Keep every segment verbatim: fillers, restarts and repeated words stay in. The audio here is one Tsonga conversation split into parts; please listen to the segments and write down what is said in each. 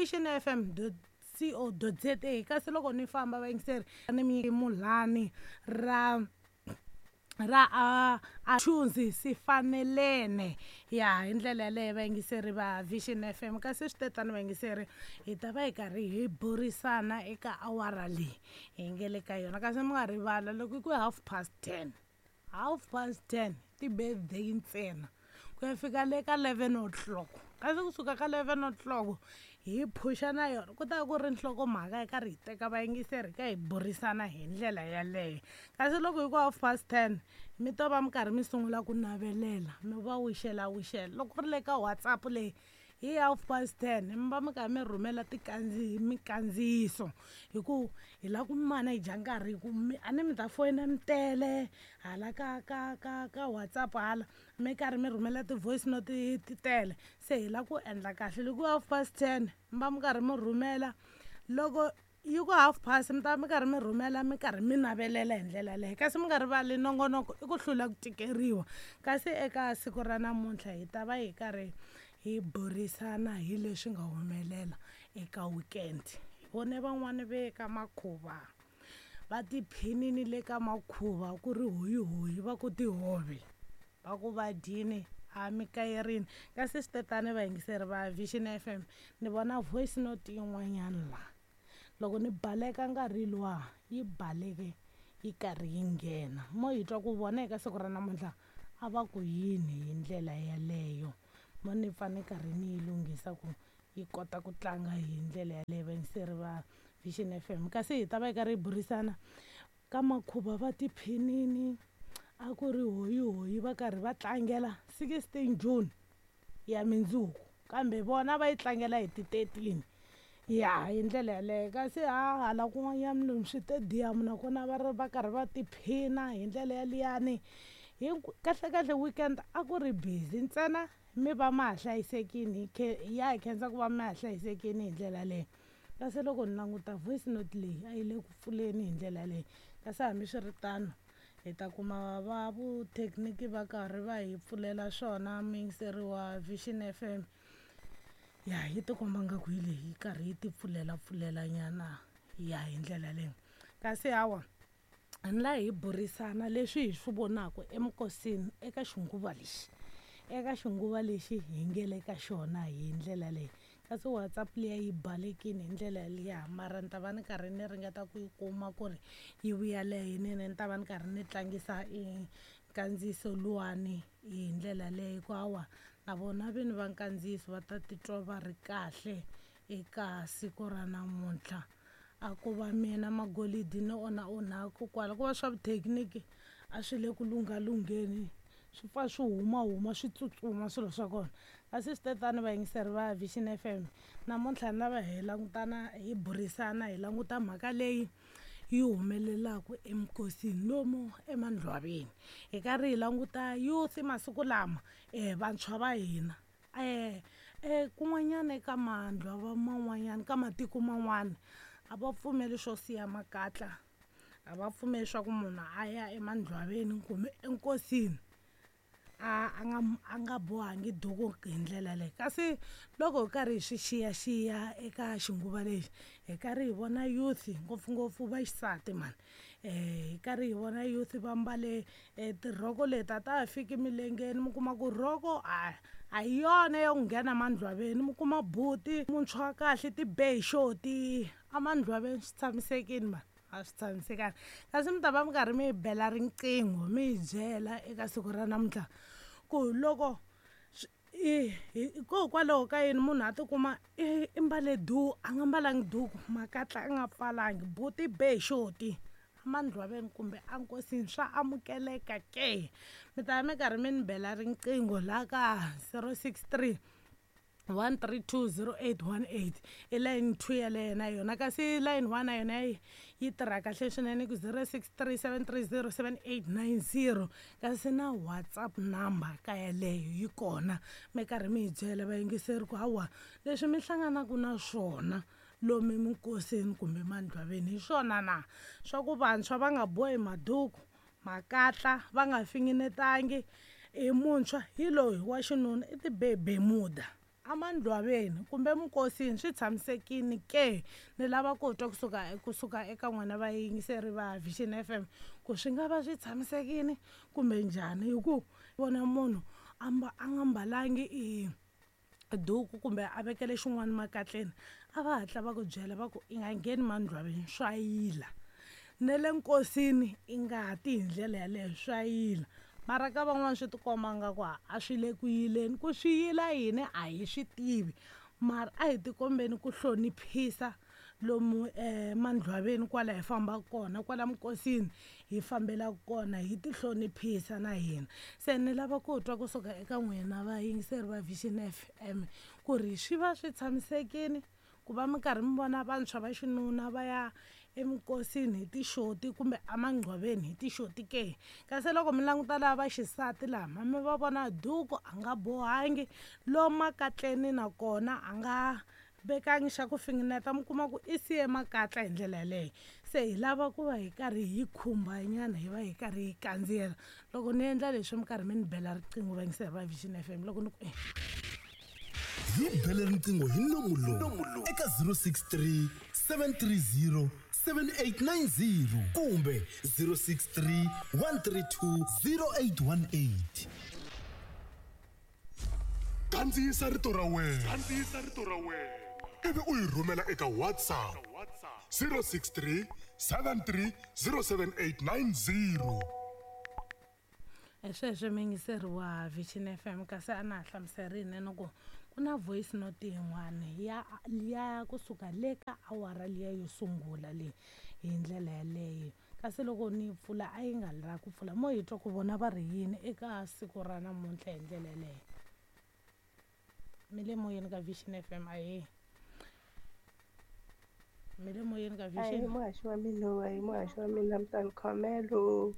Vision F M dot co dot za. Kasi loko ni famba vayingiseri ni mi mulhani ra ra a a Thunzi Sifanelene ya hi ndlela yaleyo vayingiseri va Vision F M. Kasi swi tetano vayingiseri hi ta va hi karhi hi burisana eka awara leyi hi nge le ka yona. Kasi mi nga rivala loko ku half past ten, half past ten ti-birthday ntsena ku ya fika le ka eleven o'clock. Kasi kusuka ka eleven o'clock hi phuxa na yona ku ta ku ri nhlokomhaka hi karhi hi teka vayingiseri hi ka hi burisana hi ndlela yaleyo. Kasi loko hi ku half past ten mi to va mi karhi mi sungula ku navelela mi va wixela wixela. Loko ku ri le ka WhatsApp leyi hi half past ten mi va mi karhi mi rhumela tikandzihi mikandziyiso hi ku hi lava ku mana hi dya nkarhi hi ku mi a ni mi ta foyina mi tele hala ka ka ka ka WhatsApp hala mi karhi mi rhumela ti-voice note ti tele. Se hi lava ku endla kahle loko half past ten mi va mi karhi mi rhumela, loko yi ku half past mi ta mi karhi mi rhumela mi karhi mi navelela hi ndlela yaleyo. Kasi mi nga rivali nongonoko i ku hlula ku tikeriwa. Kasi eka siku ra namuntlha hi ta va hi karhi hi burisana hi leswi nga humelela eka weekend. Hi vone van'wani ve ka makhuva va tiphinini le ka makhuva ku ri hoyihoyi va ku tihove va ku va dyini a mi kayerini. Kasi swi tetano vayingiseri va Vision F M ni vona voice note yin'wanyana la loko ni baleka nkarhi luwa yi baleke yi karhi yi nghena mo hi twa ku vona eka siku ra namuntlha a va ku yini hi ndlela yaleyo. Mo ni pfa ni karhi ni yi lunghisa ku yi kota ku tlanga hi ndlela yaleyo vayingiseri va Vision F M. Kasi hi ta va hi karhi hi burisana ka makhuva va tiphinini a ku ri hoyihoyi va karhi va tlangela sixteen June ya mindzuku kambe vona va yi tlangela hi ti thirteen ya hi ndlela yaleyo. Kasi ha hala kun'wanyana lomu switediyamu nakona va ri va karhi va tiphina hi ndlela yaliyani. Kahle kahle weekend a ku ri busy ntsena mi va ma ha hlayisekini ya hi khensa ku va ma ha hlayisekini hi ndlela leyi. Kasi loko ni languta voice note leyi a yi le ku pfuleni hi ndlela leyi. Kasi hambiswiritano hi ta kuma va vuthekiniki va karhi va hi pfulela swona muyingiseri wa Vision F M. Ya yi tikomba nga ku hi leyi yi karhi yi ti pfulela pfulela nyana ya hi ndlela leyi. Kasi hawa ni la hi burisana leswi hi swi vonaka emukosini eka xinguva lexi, eka xinguva lexi hi nge le ka xona hi ndlela leyi. Kasi WhatsApp liya yi balekile hi ndlela liya mara ni ta va ni karhi ni ringeta ku yi kuma ku ri yi vuya leyinene ni ta va ni karhi ni tlangisa i nkandziyiso luwani hi ndlela leyi. Ku hawa na vona vini va nkandziyiso va ta titwa va ri kahle eka siku ra namuntlha. A ku va mina magolidi ni onha onhaku kwala ku va swa vuthekiniki a swi le ku lunghalungheni swi pfa swi huma huma swi tsutsuma swilo swa kona. Kasi swi tetano vayingiseri va Vision F M namuntlha ni lava hi langutana hi burisana hi languta mhaka leyi yi humelelaka emikosini lomu emandlwaveni. Hi karhi hi languta youth masiku lama um vantshwa va hina um kun'wanyana eka mandlwava man'wanyana ka matiko man'wana a va pfumeli swo siya makatla, a va pfumeli swa ku munhu a ya emandlwaveni kumbe enkosini a a nga a nga bohangi duku hi ndlela leyi. Kasi loko hi karhi hi swi xiyaxiya eka xinguva lexi hi karhi hi vona youth ngopfungopfu va xisati mani um hi karhi hi vona youth va mbale tirhoko leti a ta ha fiki milengeni mi kuma ku rhoko a a hi yona ya ku nghena mandlwaveni mi kuma buti muntshwa kahle ti be hi xoti a mandlwaveni swi tshamisekile mani a swi tshamisekanga. Kasi mi ta va mi karhi mi bela riqingho mi hi byela eka siku ra namuntlha ku loko hikokwalaho ka yini munhu a tikuma i mbale duku a nga mbalangi duku makatla a nga pfalangi buti be hi xoti emandlwaveni kumbe enkosini swa amukeleka ke. Mi ta va mi karhi mi ni bela riqingho laha ka zero six three one three two zero eight one eight i line two yaleyo na yona. Kasi line one na yona yi tirha kahle swinene ku zero six three seven three zero seven eight nine zero. Kasi na WhatsApp number ka yaleyo yi kona mi karhi mi hi byela vayingiseri ku hawa leswi mi hlanganaka na swona lomu eminkosini kumbe mandlwaveni hi swona na swa ku vantshwa va nga bohi maduku makatla va nga finginetangi i muntshwa hi loyi wa xinuna i ti be bemuda Amandlwaveni kumbe minkosini swi tshamisekile ke? Ni lava ku twa kusuka kusuka eka n'wina vayingiseri va Vision F M ku swi nga va swi tshamisekile kumbe njhani, hi ku vona munhu a a nga mbalangi i duku kumbe a vekele xin'wana makatleni, a va hatla va ku byela va ku i nga ngheni mandlwaveni swa yila, ne le nkosini i nga ti hi ndlela yaleyo swa yila. Mara ka van'wana swi tikomba nga ku a swi le ku yileni, ku swi yila yini a hi swi tivi, mara a hi tikombeni ku hloniphisa lomu um mandlwaveni kwala hi fambaka kona, kwala minkosini hi fambelaka kona, hi ti hloniphisa na hina. Se ni lava ku twa kusuka eka n'wina vayingiseri va Vision F M ku ri swi va swi tshamisekile ku va mi karhi mi vona vantshwa va xinuna va ya eminkosini hi tixoti kumbe emangcwaveni hi tixoti ke? Kasi loko mi languta lava va xisati lama mi va vona duku a nga bohangi, lomu makatleni nakona a nga vekangi xa ku fingineta, mi kuma ku i siye makatla hi ndlela yaleyo. Se hi lava ku va hi karhi hi khumba nyana, hi va hi karhi hi kandziyela. Loko ni endla leswi mi karhi mi ni bela riqingho vayingiseri va Vision F M, loko ni ku eh. Hi bele riqingho hi nomu lowu eka zero six three seven three zero seven eight nine zero kumbe zero six three one three two zero eight one eight. Kandziyisa rito ra wena. Kandziyisa rito ra wena. Ivi u yi rhumela eka WhatsApp zero six three seven three zero seven eight nine zero. Sweswo muyingiseri wa Vision F M, kasi a na ha hlamuserile ni ku ku na voice note yin'wana ya ya kusuka le ka awara liya yo sungula leyi hi ndlela yaleyo. Kasi loko ni pfula a yi nga la ku pfula, mo hi twa ku vona va ri yini eka siku ra namuntlha hi ndlela yaleyo. Mi le moyeni ka Vision F M, ahee. Mi le moyeni ka Vision. Ahee, muhaxi wa mina, ahee, muhaxi wa mina, mi ta ni khomelo.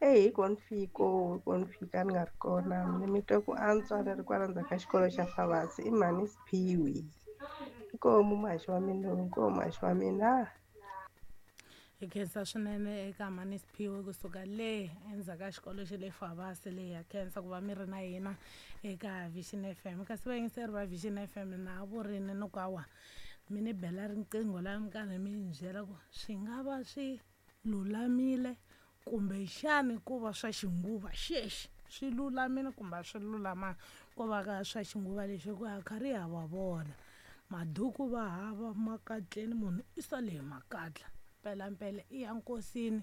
Eyi, hi ko ni fiko, hi ko ni fika ni nga ri kona. Ni mi twa ku antswa ni ri kwala ndzhaku ka xikolo xa Favasi, i mhani Siphiwe. Inkomu muhaxi wa mina, inkomu muhaxi wa mina. Hi khensa swinene eka mhani Siphiwe kusuka le endzhaku ka xikolo xa le Favasi le. Ha khensa ku va mi ri na hina eka Vision F M. Kasi vayingiseri va Vision F M na vurini ni ku awa mi ni bela riqingho laha mi karhi mi ni byela ku swi nga va swi lulamile kumbe xani ku va swa xinguva xexi swi lulamile kumbe a swi lulamanga, ku va ka swa xinguva lexi ku a karhi ha va vona maduku va hava makatleni, munhu i sale hi makatla mpelampela i ya nkosini,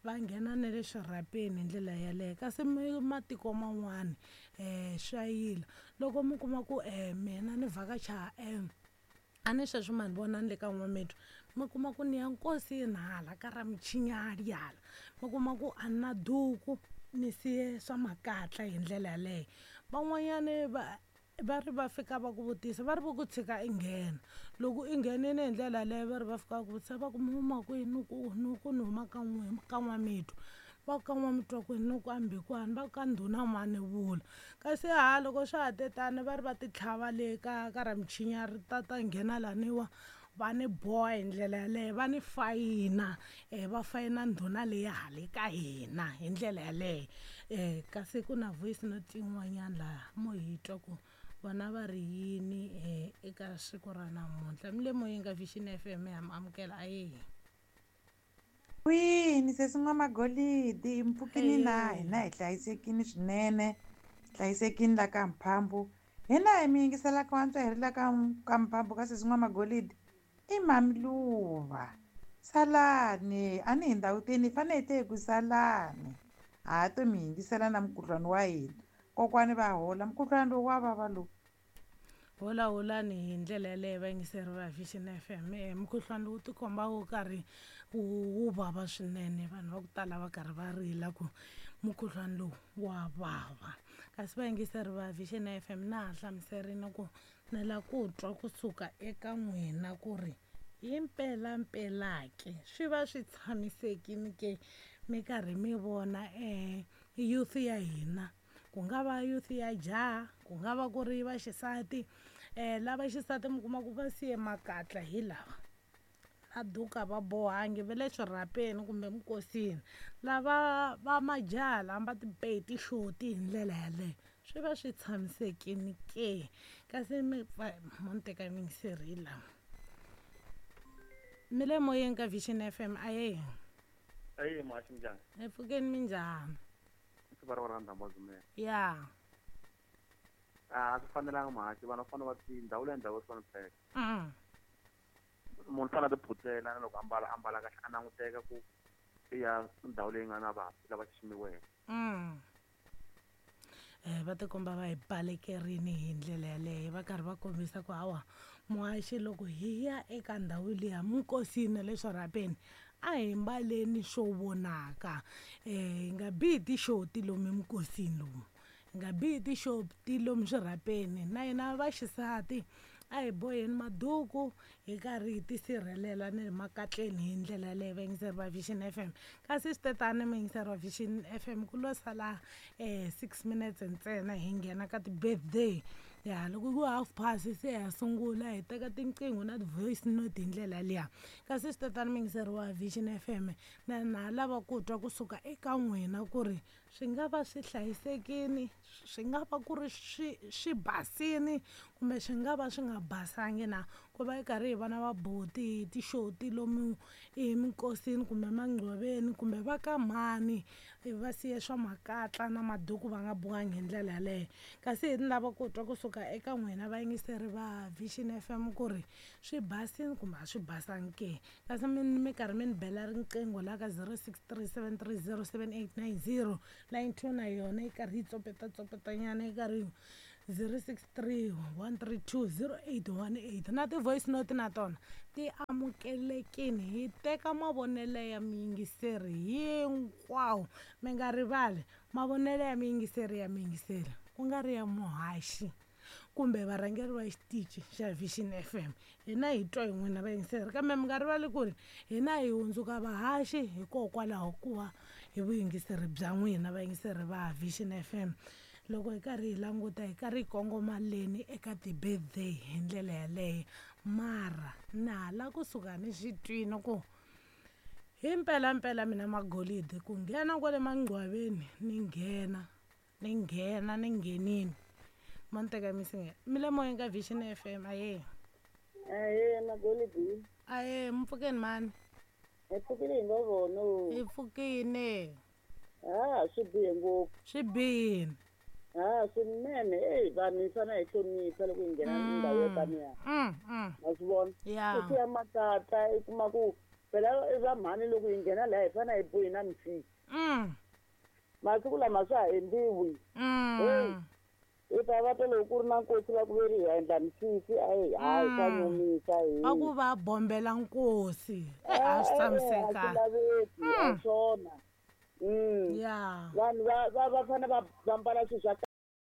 va nghena na le swirhapeni hi ndlela yaleyo. Kasi matiko man'wani um swa yila loko mi kuma ku um mina ni vhakacha um a ni sweswi ma ni vona ni le ka N'wamitwa, mi kuma ku ni ya nkosini hala ka ra Mchinyali hala, mi kuma ku a ni na duku ni siye swa makatla hi ndlela yaleyo. Van'wanyani va va ri va fika va ku vutisa, va ri va ku tshika i nghena, loko i nghenile hi ndlela yaleyo va ri va fika va ku vutisa va ku mi huma kwihi, ni ku ni ku ni huma ka n'we ka N'wamitwa, va ku ka N'wamitwa kwini, ni ku a Mbhikwani, va ku ka ndhuna mani vula. Kasi ha loko swa ha te tani va ri va ti tlhava le ka ka ra Mchinyari ta ta nghena laniwa va ni boha hi ndlela yaleyo, va ni fayina um va fayina ndhuna leyi hale ka hina hi ndlela yaleyo. Um kasi ku na voice note yin'wanyana laha mo hi twa ku vona va ri yini um eka siku ra namuntlha. Mi le moyeni ka Vision F M, ha mi amukela, ahee. Kwini sesi N'wamagolidi, mpfukini na hina hi hlayisekile swinene, hlayisekile la ka Mphambu. Hina hi mi yingiselaka wantswa hi ri la ka ka Mphambu ka sesi N'wamagolidi i Mamiluva. Salani, a ni hi ndhawutini hi fanele hi te hi ku salani. Ha to mi yingisela na mukhuhlwani wa hina. Kokwani va hola, mukhuhlwani lowu wa vava lowu. Hola holani hi ndlela yaleyo vayingiseri va Vision F M. Mukhuhlwani lowu tikomba wu karhi wu vava swinene, vanhu va ku tala va karhi va rila ku mukhuhlwani lowu wa vava. Kasi vayingiseri va Vision F M na ha hlamuserile ku ni lava ku twa kusuka eka n'wina ku ri hi mpelampela ke swi va swi tshamisekile ke mi karhi mi vona um youth ya hina, ku nga va youth ya jaha, ku nga va ku ri va xisati. Um lava xisati mi kuma ku va siye makatla hi lava a duka va bohangi va le swirhapeni kumbe minkosini, lava va majaha lava va tipeti xoti hi ndlela yaleyo, swi va swi tshamisekile ke? Kasi mi mo ni teka yingiseri la. Mi le moyeni ka Vision F M aye. Aye muhaxi minjhani? Hi pfukeni minjhani? Siku ra rhandza mazumela. Ya. A swi fanelanga muhaxi vanhu va fanele va ti ndhawu leyi ndhawu swi fanele. Mm. Munhu fanele a tiphutela na loko ambala ambala kahle a languteka ku ya ndhawu leyi nga na vanhu lava xiximiweke. Mm. Eh va tikomba va hi balekerini hi ndlela yaleyo va karhi va kombisa ku hawa muhaxi loko hi ya eka ndhawu liya minkosini le swirhapeni a hi mbaleni swo vonaka eh hi nga bihi tixoti lomu minkosini lomu hi nga bihi tixoti lomu swirhapeni na hina vaxisati a hi boheni maduku hi karhi hi tisirhelela ni le makatleni hi ndlela yaleyo vayingiseri va Vision F M kasi swi tetani muyingiseri wa Vision F M ku lo sala um six minutes ntsena hi nghena ka ti-birthday ya loko ku half past se ha sungula hi teka tinqingho na ti-voice note hi ndlela liya kasi swi tetani muyingiseri wa Vision F M na na lava ku twa kusuka eka n'wina ku ri swi nga va swi hlayisekini swi nga va ku ri swi swi basini kumbe swi nga va swi nga basangi na ku va hi karhi hi vona vabuti tixoti lomu eminkosini kumbe mangcwaveni kumbe va ka mhani va siye swa makatla na maduku va nga bohangi hi ndlela yaleyo kasi hi ni lava ku twa kusuka eka n'wina vayingiseri va Vision F M ku ri swi basini kumbe a swi basangi ke kasi mi mi karhi mi ni bela riqingho la ka zero six three seven three zero seven eight nine zero line two na yona yi karhi yi tsopeta tsopetanyana yi karhi zero six three one three two zero eight one eight na ti-voice note na tona ti amukelekini hi teka mavonelo ya miyingiseri hinkwawo mi nga rivali mavonelo ya miyingiseri ya miyingiseri ku nga ri ya muhaxi kumbe varhangeri va xitichi xa Vision F M hina hi twa hi n'wina vayingiseri kambe mi nga rivali ku ri hina hi hundzuka vahaxi hikokwalaho ku va hi vuyingiseri bya n'wina vayingiseri va Vision F M loko hi karhi hi languta hi karhi hi kongoma leni eka ti-birthday hi ndlela yaleyo mara na hala kusuka ni swi twini ku hi mpelampela mina magolidi ku nghena kwale mangcwaveni ni nghena ni nghena ni nghenini mo ni teka misinge mi le moyeni ka Vision F M aye aye magolidi aye mpfukeni mani hi pfukile hi ngo vona hi pfukile ah swi bihe ngopfu swi bihile ah swinene eyi vanhu hi fanele hi hlonipha loko hi nghena ndhawu yo taniya ma swi vona ya ku ya makatla i kuma ku phela i va mhani loko hi nghena laha hi fanele hi bohi na misisi masiku lama swa ha endliwi heyi i ta va loko ku ri na nkosi va ku veri hi endla misisi ayi hayi swa nyumisa hi va ku va bombela nkosi a swi tshamisekanga a swi laveki a swona ya vanhu va va va fanele va va mbala swilo swa